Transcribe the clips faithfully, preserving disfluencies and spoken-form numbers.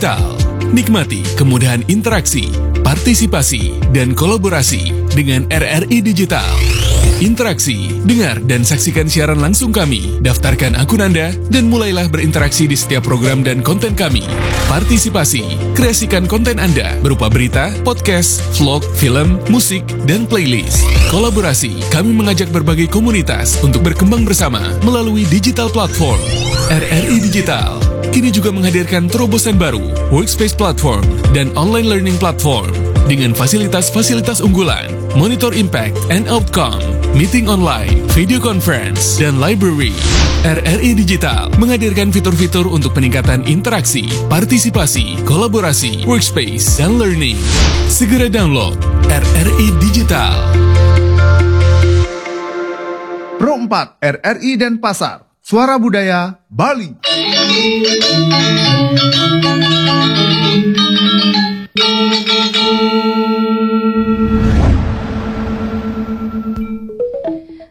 Digital. Nikmati kemudahan interaksi, partisipasi, dan kolaborasi dengan R R I Digital. Interaksi, dengar dan saksikan siaran langsung kami. Daftarkan akun Anda dan mulailah berinteraksi di setiap program dan konten kami. Partisipasi, kreasikan konten Anda berupa berita, podcast, vlog, film, musik, dan playlist. Kolaborasi, kami mengajak berbagai komunitas untuk berkembang bersama melalui digital platform. R R I Digital kini juga menghadirkan terobosan baru, Workspace Platform dan Online Learning Platform, dengan fasilitas-fasilitas unggulan, Monitor Impact and Outcome, Meeting Online, Video Conference, dan Library. R R I Digital menghadirkan fitur-fitur untuk peningkatan interaksi, partisipasi, kolaborasi, workspace, dan learning. Segera download R R I Digital. Pro empat R R I Denpasar, Suara Budaya Bali.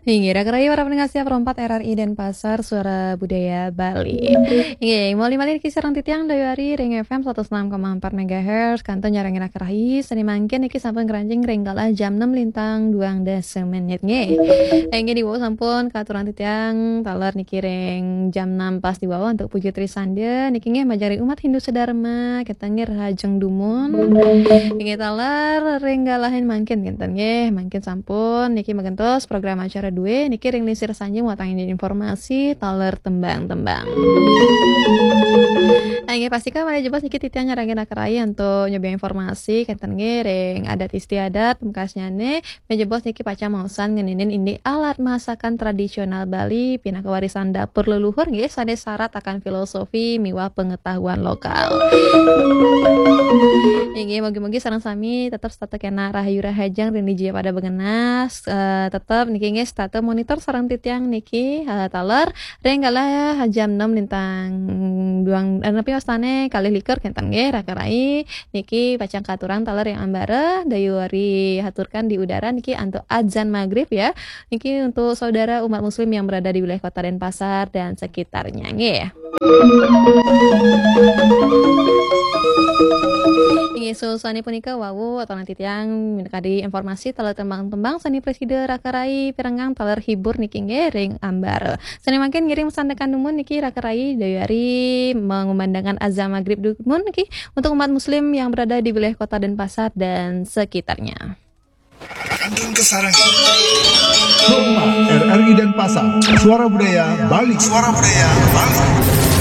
Inggih, raka rayi para pendengar setia Pro empat R R I Denpasar, Suara Budaya Bali. Inggih, malih-malih niki sareng titiang Dayu Ari ring F M satus enam koma empat megahertz, kantun nyarengin raka rayi, sane mangkin niki sampun ngranjing ring galah jam enam lintang duang dasa menit, nggih. Inggih, diwau sampun katurang titiang taler niki ring jam enam pas diwau antuk puji trisanda, niki nggih majeng ring umat Hindu sedharma, kenten nggih rahajeng dumun. Inggih taler ring galahin mangkin kenten nggih, mangkin sampun niki magentos program acara due, niki ring lingsir sanjung wantah informasi taler tembang-tembang. Nah, inggih pastika malih jebos niki titiang nyarengin raka rayi antuk nyobiahang informasi kenten nggih ring adat istiadat pungkasnyane, malih jebos niki pacang maosang ngeninin indik alat masakan tradisional Bali pinaka warisan dapur leluhur nggih sane sarat akan filosofi miwah pengetahuan lokal. Inggih, mugi-mugi sareng sami tetep setata kena rahayu rahajeng ring dija pada bengenas, eh, tetep niki nggih setata monitor sareng titiang niki, eh, taler ring galah jam enam lintang duang, eh, napi wastane kalih likur kenten nggih, raka rayi. Niki pacang katurang taler ring ambara, Dayu Ari haturkan di udara niki antuk adzan maghrib ya. Niki untuk saudara umat muslim yang berada di wilayah Kota Denpasar dan sekitarnya nggih. Inggih, suksmane punika wau atau nanti tiang minakadi informasi taler tembang-tembang sane prasida raka rayi pirengang taler hibur niki nggih ring ambara. Sane mangkin ngiring sandekan dumun niki raka rayi Dayu Ari mengumandangkan azan maghrib dumun niki untuk umat muslim yang berada di wilayah Kota Denpasar dan sekitarnya. Kantun kasarengin. Pro empat R R I Denpasar, Suara Budaya Bali. Suara Budaya Bali.